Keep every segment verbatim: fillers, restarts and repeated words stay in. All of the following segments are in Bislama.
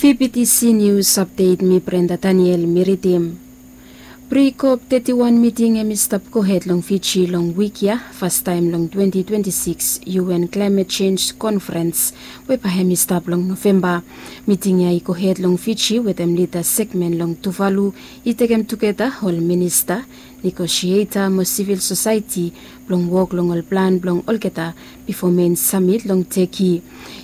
Fibitisi nius apdet, mi Brenda Daniel mi ridim. Pri-kop teti wan miting hem i stap gohed long Fiji long wik ya, fastaem long twenti twenti sikis U N Klaemet Jenj Konfrens, we bae hem i stap long Novemba. Miting ya i gohed long Fiji wetem lida segmen long Tuvalu, i tekem tugeta ol minista, negosieta mo sivil sosaeti blong wok long ol plan blong olgeta bifo mein samit long Teki.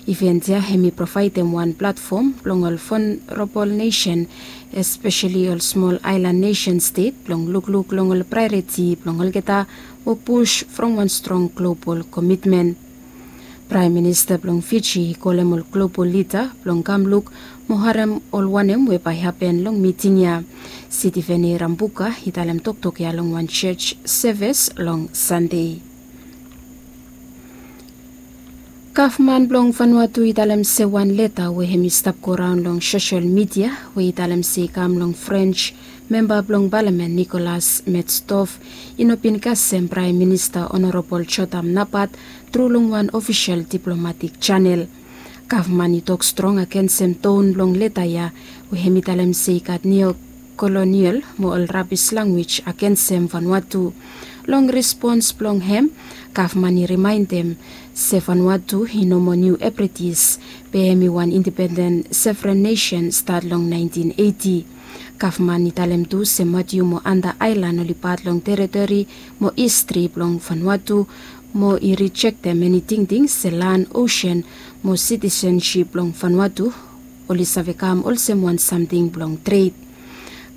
Iven ya hem i provaedem wan platfom blong ol vulnerabol nesen, espeseli ol smol aelan nesen stet, blong lukluk long ol praeoriti blong olgeta mo pus from wan strong global komitmen. Praem Minista blong Fiji i kolem ol global lida blong kam luk mo harem ol wanem we bae hapen long miting ya. Sitiveni Rambuka i talem toktok ya long wan jos sevis long Sande. Gavman blong Vanuatu i talem se wan leta we hem i stap goraon long sosel midia we i talem se i kam long Frens memba blong palamen Nicolas Metstov i no bin kasem Praem Minista Onorabol Jotam Napat tru long wan ofisel diplomatik janel. Gavman i tok strong agensem ton blong leta ya we hem i talem se i gat niokolonial mo ol rabis lanwis agensem Vanuatu. Long respons blong hem, gavman i rimaendem se Vanuatu i no moa Niu Hebrides, be hem i wan indipenden sovren nesen stat long naentin eiti. Gavman i talem tu se Matiu mo Anta aelan oli pat long teritori mo istri blong Vanuatu, mo i rijektem eni tingting se lan, osen mo sitisensip blong Vanuatu oli save kam olsem wan samting blong tred.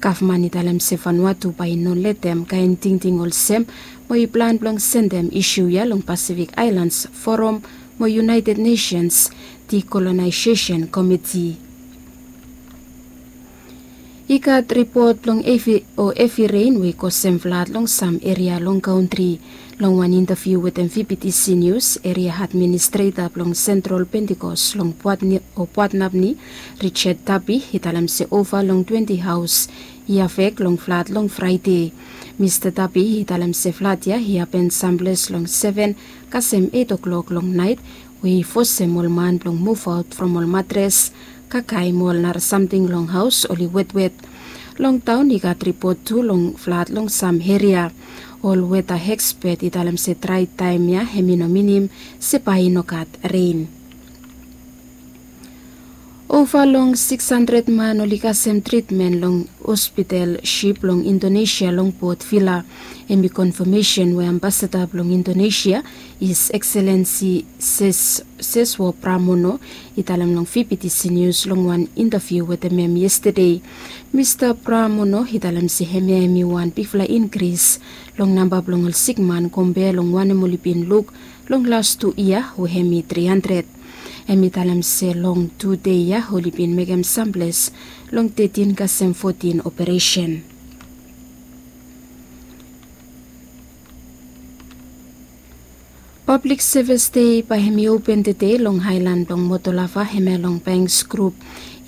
Gavman i talem se Vanuatu bae i no letem kaen tingting olsem, mo i plan blong sendem isu ya long Pasifik Aelans Foram mo Iunaeted Nesens Dikolonaesesen Komiti. I gat ripot blong hevi o hevi ren we i kosem flad long sam eria long kantri. Long wan intaviu wetem Fibitisi Nius, eria administreta blong Sentral Pentikos long Puatni o Puatnapni, Richard Tapi, i talem se ova long twenti haos i afek long flad long Fraede. Mista Tapi i talem se flad ya i hapen samples long seven kasem eit oklok long naet, we i fosem ol man blong muvaot from ol matres, kakae mo ol nara samting long haos oli wetwet. Long taon i gat ripot tu long flad long sam eria. Ol weta ekspet i talem se drae taem ya hem i no minim se bae i no gat ren. Ova long sikis handred man oli kasem tritmen long hospital sip long Indonesia long Port Vila. Hem i konfamesen we ambasada blong Indonesia, His Excellency Ses Seswo Pramono, i talem long Fibitisi Nius long wan intaviu wetem hem yestade. Mista Pramono i talem se hemia hem i wan bigfala inkris long namba blong ol sikman kompea long wanem oli bin luk long las tu yia we hem i tri handred. Hem i talem se long tu dei ya oli bin mekem samples long tetin kasem fotin operesen. Pablik Sevis Dei bae hem i open tede long aelan blong Motolava hemia long Banks Grup.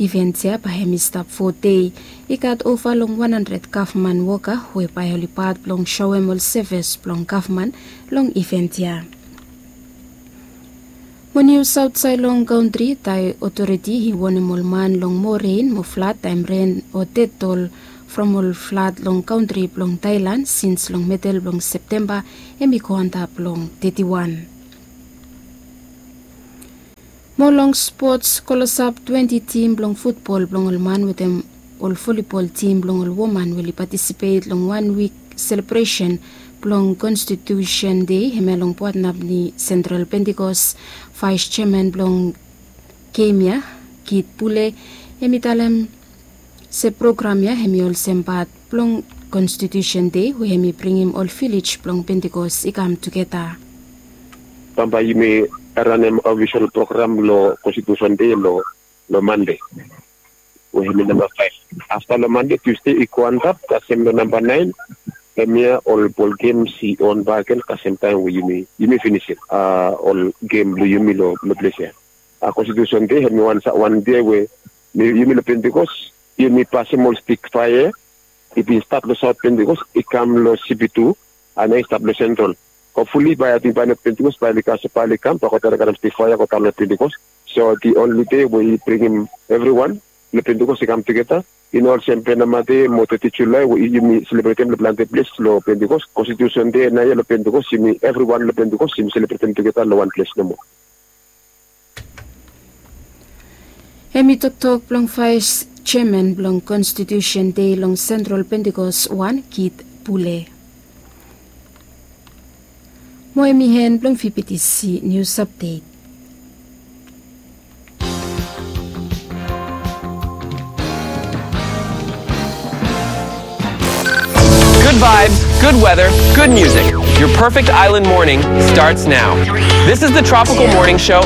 Iven ya bae hem i stap fo dei. I gat ova long wan handred gavman woka we bae oli pat blong soem ol sevis blong gavman long iven ya. Mo nius aotsaed long kantri, Thai otoriti i wonem ol man long moa ren mo flad taem ren o ded ol from ol flad long kantri blong Thailand sins long medel blong Septemba hem i go antap long teti wan. Mo long spots, klosap twenti tim blong futbol blong ol man wetem ol volibol tim blong ol woman we oli patisipet long wan wik selebresen blong Konstitusen Dei hemia long Puatnapni Sentral Pentikos. Vaes jeaman blong gem ya, Kit Pule, hem i talem se program ya hem i olsem pat blong Konstitusen Dei we hem i bringim ol vilej blong Pentikos i kam tugeta. Bambae yumi ranem ofisol program long Konstitusen Dei long, long Mande. We hem i namba faef. Afta long Mande, Tusde i go antap kasem long namba naen. Hemia ol bol gems i on bakegen kasem taem we yumi, yumi finisim, a, ol gem blong yumi long, long ples ya. A, Konstitusen Dei hem i wan sa, wan dei we yumi long Pentikos yumi pasem ol stik faea. I bin stat long Saot Pentikos, i kam long Sipi tu, a, nao i stap long Sentral. Hopfuli bae ating bae long Pentikos bae oli kasem, bae oli kam, bae God bae oli karem stik faea go daon long Pentikos. So the only day we i bringim evriwan long Pentikos i kam tugeta. I no olsem Penama Dei mo teti Julae we yumi selebretem long plante ples long Pentikos. Konstitusen Dei naoia long Pentikos, yumi evriwan long Pentikos yumi selebretem tugeta long wan ples nomo. Hem i toktok blong vaes jeaman blong Konstitusen Dei long Sentral Pentikos wan, Kit Pule. Mo hem i hen blong V B T C nius apdet. Good vibes, good weather, good music. Your perfect island morning starts now. This is the Tropical Morning Show